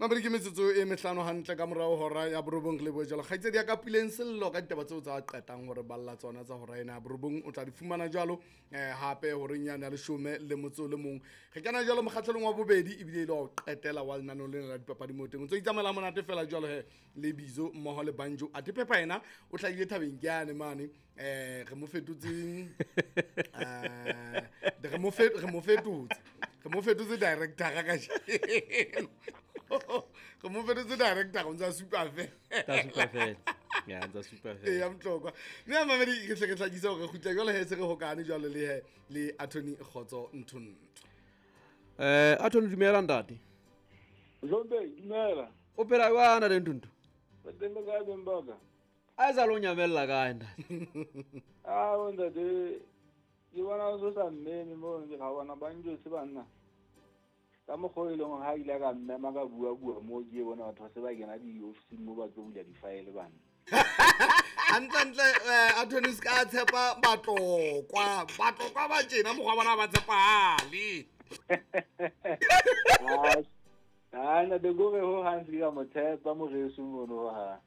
Mabedi ke metsotso e mehlano hantle ka morao hora ya borobong. Re lebohe jwalo kgaitsedi ya ka Puleng Sello ka ditaba tseo tsa qetang hore balla tsona tsa hora ena ya borobong. O tla di fumana jwalo hape horeng yane ya 11. Re kena jwalo mokgahlelong wa bobedi ebile e le wa ho qetela wa lenaneo lena la dipapadi mo teng. O ntso itsamaela monate fela jwalo he le Bizo mmoho le Banjo. Athe Pepper yena o hlahile thabeng ke yane mane, re mo fetotseng, re mo fetotse, re mo fetotse director kajeno, re mo fetotse director, o ntse a supa fela. Tsa supa fela. Ya, ntsa supa E fela. ya Motlokwa mme ya mamedi, re hle re hlakise hore re kgutla jwale he se re hokane jwalo le he le Attorney Kgotso Nthontho. Attorney, dumela ntate. Zombe, dumela. O phela jwang ntate Nthuntu? Ba teng le kae beng ba ka? A e sa le o nyamella kae ntate? Ah, bo ntate, ke bona o so sa mmeme mo ke ga bona ba njwetse banna. Ka mokgwa o e leng hore ha ile ka mmema ka bua bua mo ke bona batho ba se ba kena di-ofising mo ba tlo bula di-file banna. Hantlentle, Attorney, se ka tshepa Batlokwa, Batlokwa ba tjena mokgwa wa bona ha ba tshepahale. Ah, ntate, kore ho hang se ke ka mo tshepa moreso mono ho hang.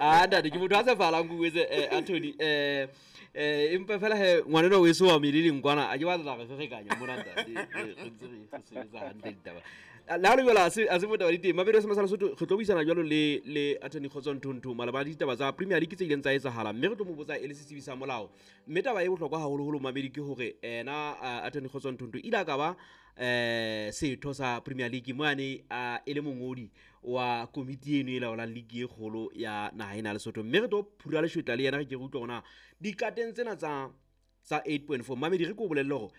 Ah, ntate, ke motho a tshepahalang ke o etse, Attorney, empa fela he ngwanenwa o eso wa meleleng kwana, a ke batla re ferekanya mona ntate, re ntse re sebetsa hantle ditaba. Le ha le jwalo, ha se botaba di teng. Mabedi a Semasa Lesotho, re tlo buisana jwalo le Attorney Kgotso Nthontho malebana le ditaba tsa Premier League tse ileng tsa etsahala, mme re tlo mo botsa e le setsebi sa molao. Mme taba e bohlokwa haholoholo mamedi ke hore ena, Attorney Kgotso Nthontho ile a ka ba setho sa Premier League mo ane a e le mongodi wa komiti eno e laolang league e kgolo ya naha ena ya Lesotho. Mme re tlo phura leshwetla le yena, re ke re utlwe hore na dikateng tsena tsa 8.4. Mamedi, re ke o bolelle hore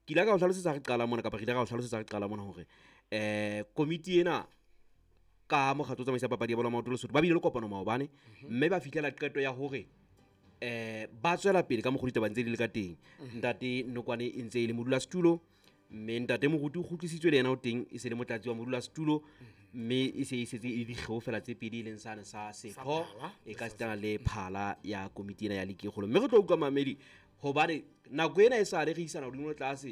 ke ile ka o hlalosetsa re qala mona, kapa re ile ka o hlalosetsa re qala mona hore komiti ena ka mokgatlo o tsamaisa papadi ya bolo ya maoto Lesotho ba bile le kopano maobane, mme ba fihlela qeto ya hore ba tswela pele ka mokgwa ditaba ntse di le ka teng. Ntate Nokwane e ntse e le modulasetulo, mme ntate Moruti o kgutlisitswe le yena o teng e se le motlatsi wa modulasetulo, mme e se e setse e le dikgeo fela tse pedi e leng sane sa setho Phala. E ka sitana le phala ya komiti ena ya league e kgolo. Mme re tlo utlwa mamedi hobane nako ena e sale re isana hodimo le tlase.